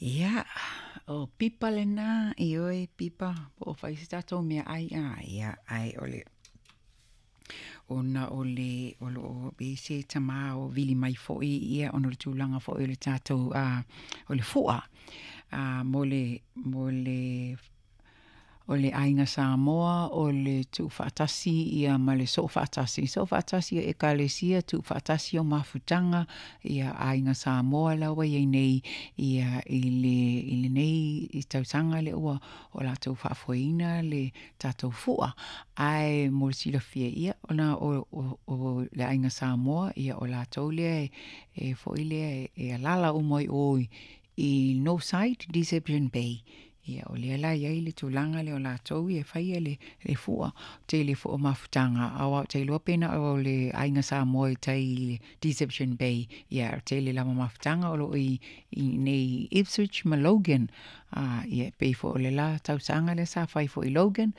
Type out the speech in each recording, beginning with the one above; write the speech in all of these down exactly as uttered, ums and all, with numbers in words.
Ia, o pipa lena, ioe pipa, po o fai se tatou meaai a, ia, ae o le ona o le o lo o i ai se tamā o vili mai foi ia ona o le tulaga foi o le tatou a o le fua a mo le mo le o le Aiga Samoa o le tuufaatasi ia ma le soofaatasi, soofaatasi o Ekalesia, tuufaatasi o mafutaga, ia Aiga Samoa la ua i ai nei ia i le i lenei tausaga lea ua o latou faafoeina le tatou fua. Ae mo le silafia ia ona o, o, o le Aiga Samoa ia o latou lea e, e foi lea e alaala uma i o i Northside, Deception Bay. Ia o lea la e i ai le tulaga lea o latou ia e faia le, le fua tele foi o mafutaga aua ou te iloa pe na o le Aiga Samoa i tai i le Deception Bay ia o tele lava mafutaga o lo o i, i nei Ipswich ma Logan. A ia e pei foi o le la tausaga lea sa fai foi i Logan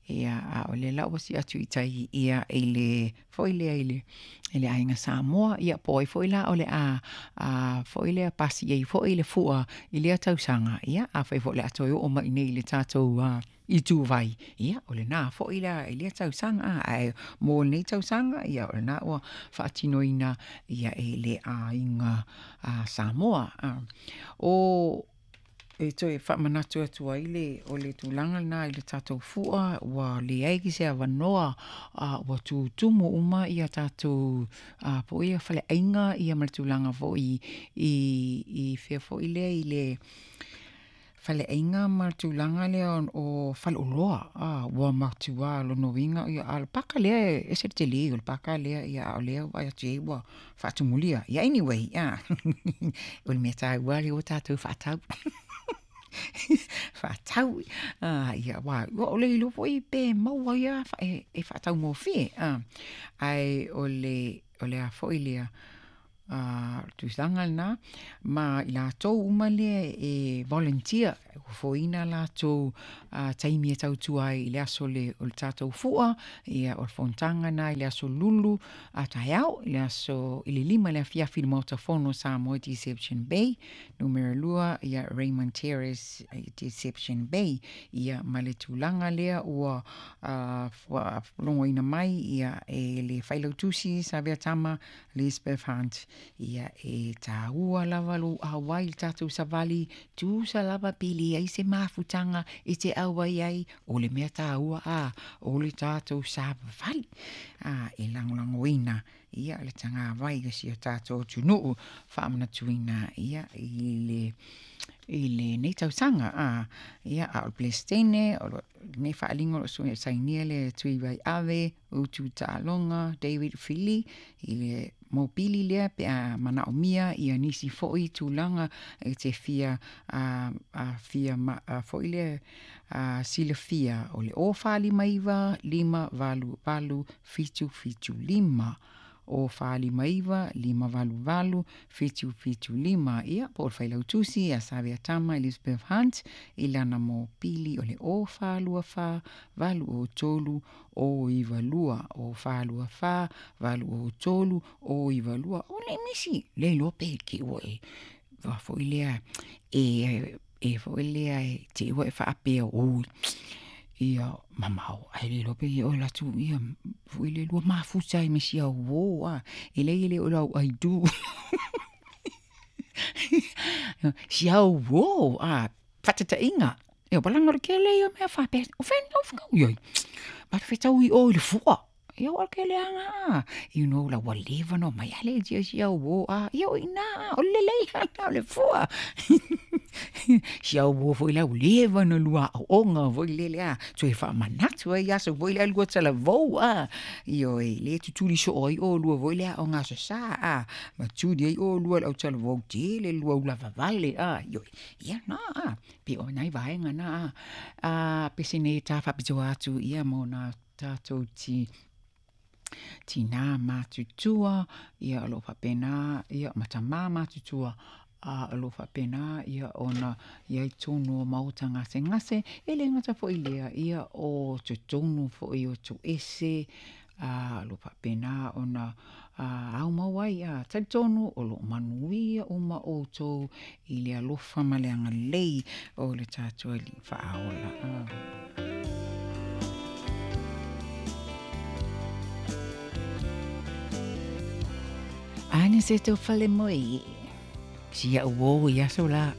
ia a o lea la ua sii atu i tai ia i le foi lea i le i le Aiga Samoa ia po o ai foi la o le a a foi lea pasi ai foi le fua i lea tausaga ia afai foi o le a toe oo mai i inei i le tatou uh, ituvai ia o lena foi la i lea tausaga a ae mo lenei tausaga ia o lena ua faatinoina ia e le Aiga a Samoa a o e toe faamanatu atu ai le o le tulaga lena i le tatou fua ua leai se avanoa a ua tutumu uma ia tatou a po o ia faleaiga ia ma le tulaga foi i i fea foi lea i le faleaiga ma le tulaga lea o faleoloa a ua matua lona uiga ia a o le paka lea e ese le telē o le paka lea ia a o lea ua vaai atu i ai ua faatumulia ia anyway a o le mea taua lea ua tatou faatau faatau a ia ua ua le iloa foi pe maua ia e, e faataugofie a ae o le o le a foi lea a tulaga lena ma i latou uma lea e volunteer ua foina latou a taimi e tautua ai i le aso le o le tatou fua ia o le fonotaga na i le aso Lulu a taeao i le aso i le lima le afiafi i le Maota Fono Samoa Deception Bay numera lua ia Raymond Terrace Deception Bay ia ma le tulaga lea ua uh, logoina mai ia e le failautusi Savea Tama Lisbeth Hunt ia e taua lava lou auai i le tatou savali tusa lava pe leai se mafutaga e te auai ai o le mea taua a o le tatou savali a e lagolagoina ia le tagavai o si o tatou atunuu faamanatuina ia i le i lenei tausaga a ia a o le Peresetene o lenei faaaliga o lo o sainia le Tui Vaiave Utu Taaloga David Fili i le mopili lea pe a manaomia ia nisi foi tulaga e te fia a, a fia ma, a foi lea a silafia o le o fa lima iva lima valu valu fitu fitu lima o fa lima iva lima valu valu fitu fitu lima ia po o le failautusi ia Savea Tama Elizabeth Hunt i lana mopili o le o fa lua fa valu o tolu o iva lua o fa lua fa valu o tolu o iva lua o le misi le iloa pe ke ua e va foi lea e e foi lea e te ua e faapea oi ia mamao ae le iloa pe ia o latou ia foi le lua mafuta ai ma si auō a e leai e le o lau aitu si auō a faatataʻiga ia palaga o le kele ia mea faapea o fea o fea iai ma fetau i o i le fua ia o ke leaga a you know la ua leva ona omai ale tia si auō a ia o i ina o le lelei lana o le fua si auō foi la ua leva ona lua aoaoga foi lele a toe faamanatu ai aso foi lea lua talavou a ioe le tutuli soo ai olua foi le aoga aso Sa a ma tuli ai olua le autalavou tele lua ulavavale a ioe ia na a pe o nai vaega na a a pese nei ta faapitoa atu ia mo na tatou ti tinā matutua ia o lo o faapena ia ma tamā matutua a o lo o faapena ia ona i ai tonu o maota gasegase e le gata foi lea ia o totonu foi o toese a o lo o faapena ona Au mau ai a talitonu o loo manuia uma outou i le alofa ma le agalelei o le tatou Alii faaola. Ane se tau fale moi. Si au o i aso la.